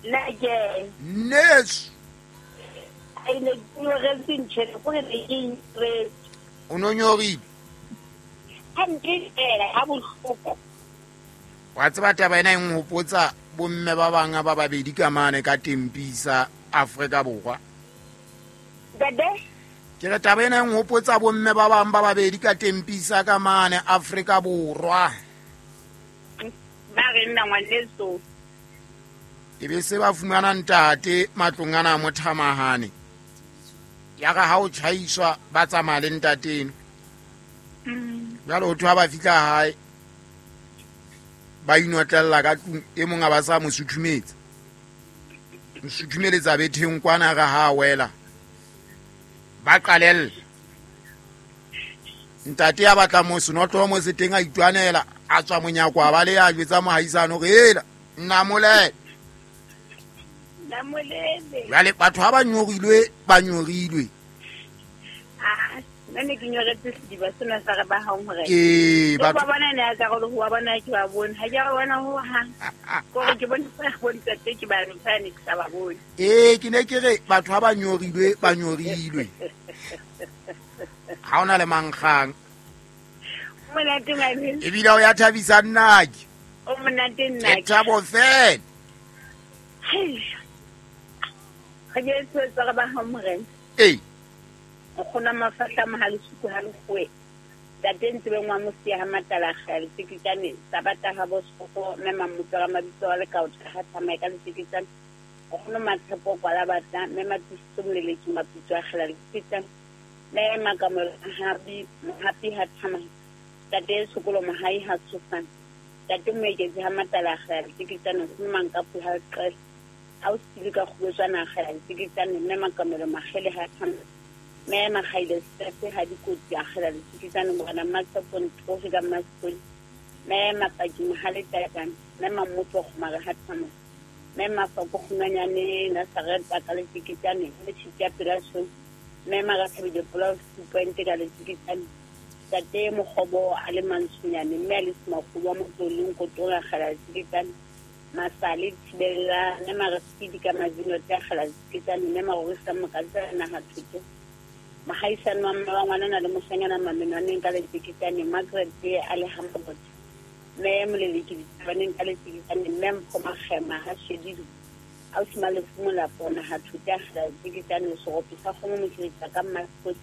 Nna ke. Nneso. Ai ne ke nyoretse ntho ena, kore ne ke nyoretse. O no nyorile? Hampe fela, ha bohloko. Wa tseba taba ena e nhopotsa bomme ba bang ba babedi ka mane ka Tempisa, Afrika Borwa. Ntate? Ke re taba ena e nhopotsa bomme ba bang ba babedi ka Tempisa ka mane Afrika Borwa. Ba re nna ngwaneso. E be se ba fumana ntate matlong ana a mothamahane. Ya re ha o tjhaiswa ba tsamaya le ntateno. Jwale ho thwe ha ba fihla hae ba inotlella ka tlung, e mong a ba sa mo suthumetsa. Mo suthumeletsa betheng kwana re ha wela. Ba qalella. Ntate ya batla mo senotlolo mo se teng a itwanela, a tswa monyako a ba le ya jwetsa mohaisane hore hela nnamolele. Nnamolele. Jwale batho ha ba nyorilwe, ba nyorilwe. Ah, nna ne ke nyoretse sediba sena sa re ba hang hore. Ee, Ke ba batho bona ne a ka re ho wa bona ke ba bone. Ha ke ba bona ho hang. Kore ke bone ba bone ntate ke ba fa ne ke sa ba bone. Ee, ke ne ke re batho ha ba nyorilwe, ba nyorilwe. Ha ona le mankgang. Monate ngwane. Ebile o ya thabisa nnake. O monate nnake. Ke thabo fela. Hei. Re ke tse re ba hang morena. Ee. O kgona mafahla mohale suku ha lekgowe. Ntate ntse be ngwa mosia ha matala kgale tsekitsane tsa bata ha bo soko mme mamutso ga mabitso a le kaotla ha tsamaya ka letsekitsane. O kgona matshepo kwala batla mme matiso moleleki mapitso a kgela letsekitsane. Mme makamelo hapi hapi ha tsamaya. Ntate sokolo mohai ha tsofana. Ntate moeketsi ha matala kgela letsekitsane o kgona mankapu ha qela. Ha o sile ka kgobetswana kgela letsekitsane mme makamelo magele ha tsamaya. Mme Makgaile Sefe ha dikotsi a kgela letsikitsane morena Mmatshepo Ntlogi ka Mmasekoli. Mme Mapaki Mohale Tatane, mme Mamotso Kgomare ha tsamaya. Mme Mafako Kgunwanyane Nazareth ka letsikitsane, mme Tshitya pela tshweu. Mme Marathabile Polao Two Point ka letsikitsane. Ntate Mokgobo a le Mantshonyane, mme a le Semakgobo wa Motloleng Kotora kgela letsikitsane. Masale Thibella, mme Maresidi ka Mazinote a kgela letsikitsane, mme Marorisa Mokatsa naha Thotho. Mohaisane wa mme wa ngwanana le moshanyana mamenwaneng ka letsikitsane, Margaret a le ha Mabotho. Mme Moleleki ditabaneng ka letsikitsane, mme Mpho Makgema ha Shedido. Ausi Malefu Molapo naha Thotho a kgela letsikitsane, serope sa kgomo motjheletsa ka Mmasekoti.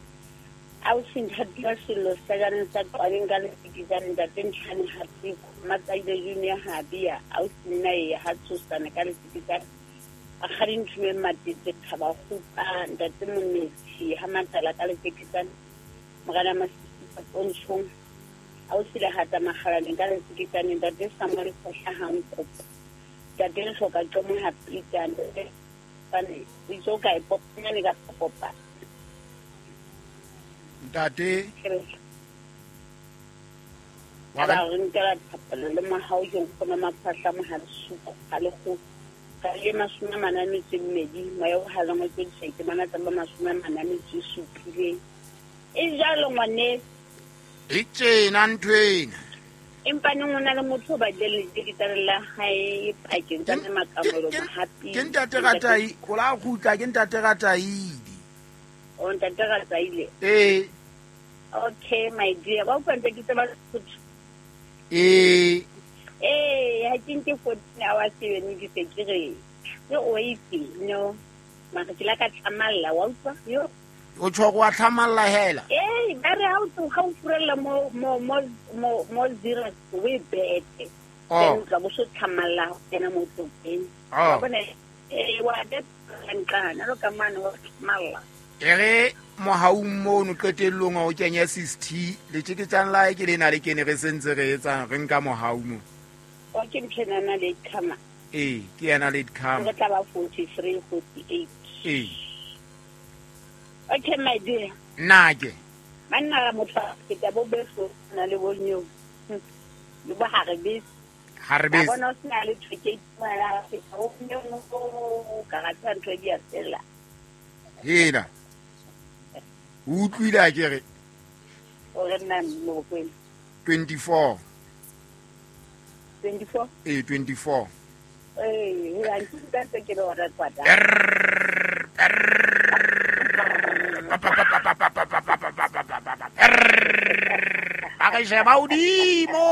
Ausi Nthati wa Sello Sejaneng sa Qwabeng ka letsikitsane, ntate Ntshane ha Tsiko, Matsaile Junior ha Bia, ausi nna e ha Tshosane ka letsikitsane. Rakgadi Nthumeng Matete, Thaba Kgupa, ntate Monetsi ha Matala ka letsikitsane, Morena Masisi Pontshong, ausi Lehata Makgalaneng ka letsikitsane, ntate Samuel Khohla ha Nkopo, ntate Lehloka Qomo ha Peter, ntate Pane, o itse o kae popanyane ka popa. Ntate. Wa ba re nkela thapelo le mohau ke nkgono maphahla mohale suku ha le kgolo. Ka le 42, moya o haleng o tswedisa ke mana tsa ba 47. E jalo ngwane. E tjena ntho ena. Empa neng o na le motho o batlile le la hae pakeng tsa makamolo mohapi. Ke ntate Ratai, o la kgutla ke ntate Rataile. O ntate Rataile. Ee. Okay my dear, ba utlwa ntse ke tseba Sesotho. Ee. Ee, ha ke nke 14 hours yone ke se ke re ke o itse no. Mara ke la ka tlamalla wa utlwa yo. O tjho wa tlamalla hela. Ee, ba re ha o tloga o furella mo mo mo mo mo zero we bete. Oh. Then tla bo so tlamalla ho kena mo tlopeng. Oh. Wa bona ee wa de nqana lo ka mane wa tlamalla. E re mohaung mono qetellong o kenye 60 letjeketjang la ke lena le kene re sentse re etsang re nka mohau mo. O ke ntshena na le khama. Ee, ke yena le khama. Re tla ba 43 48. Ee. Okay my dear. Nna ke. Banna motho a feta bo beso na le bo nyo. Le bo ha re bese. Ha re bese. Ba bona o sena le thwe ke mara feta o nyo ka ga tsa ntho di a fela. Hela. O utlwile a ke re? O re nna mo kwena. 24. 24? Ee, 24. Ee, ha ke utlwa ntse ke le hona kwata. Ba re sheba hodimo.